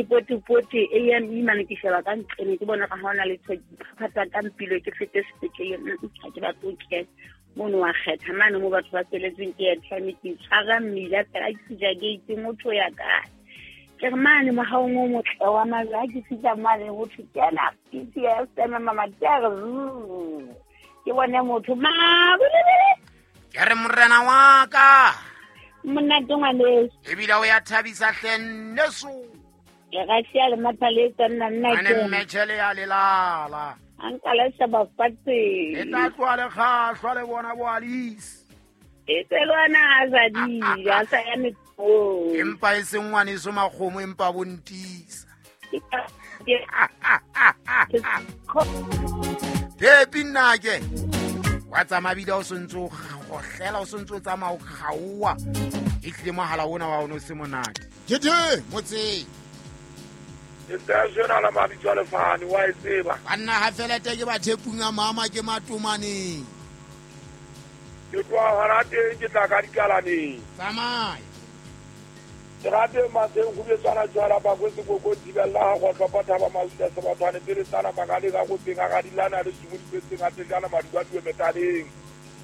Pote AME mane ke sheba ka nqene ke bona ka ha ona le phata ka mpilo ke fete sepetlele, ha ke batle ho kena mono. Wa kgetha mane mo batho ba tsweletseng ke airtime, ke tshwara mmila fela ke fihla gate, motho ya kae? Ke re mane mohaong o motle wa majwe. Ha ke fihla mane ho thwe kena PTS mamati a re ke bone motho ma. Ke re morena wa ka. Monate ngwaneso. Ebile o ya thabisa hle nneso. Ke gasia le mathaletsa nna nna. Ane mmetšhele ya lelala. A nka la sheba fatshe. E tla tloa le kgahlwa le bona boalise. E tselwana a sa di a sa ya metsong. Empa e seng ngwaneso makgomo, empa bontisa phepi nnake wa tsamaya bile o sentse o gohlela, o sentse o tsamaya o kgaoa, e tlile mogala ona wa one o se monate kethe motseng. Sena la mabitso a lefane wa e tseba. Banna ga felete ke bathepung a mama ke matomaneng. Ke tloa gona teng, ke tla ka dikalaneng. Tsamaya. Ke rateng maseng go betswana jwala bakwe sekoko thibella ga gotlhopa thaba mauta sebathwane pele tsana makaleng a gopeng a gadilana le sumo dipetseng a tsejana maduadue metaleng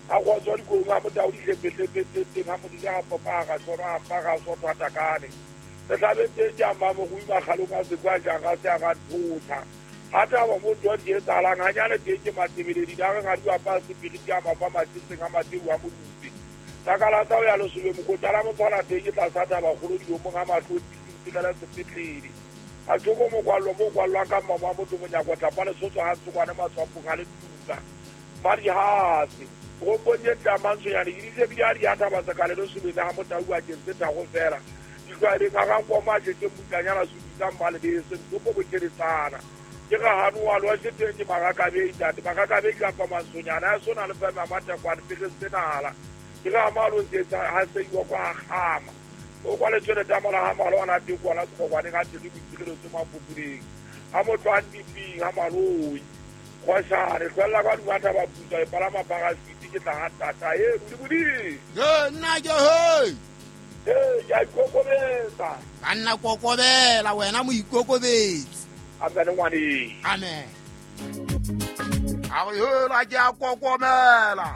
a go tswa dikong a motao dihlepehlepetseng a modile a popa ga tshwana a mpa ga sotho a takane re tlabetseng ke amma mogoi makgalong a sekwa jang a se a ga nthotha ga thaba mo tswa di etsalang ganyane teng ke matebeledi da re ga di apa sepiri ke a mafa matsetseng a mateu a modupe takala tsa o ya lesobe mokotala motshwana teng ke tlasa thaba kgolo dilomong ga matlho tisigela sepetlele a tsoko mokwallo mo kwallwang ka mmamo wa motho monyako tlapa lesotso ga tsokwane matswapong a le tuka madihase gompong ye tlamantshonyane ke disebile a di a thaba sekale lesobeng le ga motau bakeng se thago fela ditlwaeleng ga gankoma a šetse mmutlanyana supisa mmalebese ntsopo bokeletsana ke ga gano wa loa šeteng ke magakabei tate magakabei kapa mansonyana a sona le feme a mathekwane pele senala ke ga malo se ha se iwa kwa gama o kwa letswele tamola ga malo ana teng kwana sekgokwane ga teng boitirelo tse mapopoleng ga motho a ntiping ga maloi kgošane tlwelela kwa dumatha ba pusa e palama parasiti ke tla ga tata e bodibodi. Ye nna ke he. Ee, ke a ikokobetsa. Banna kokobela wena moikokobetsi. Amen ngwaneng. Amen. A re hela ke a kokomela.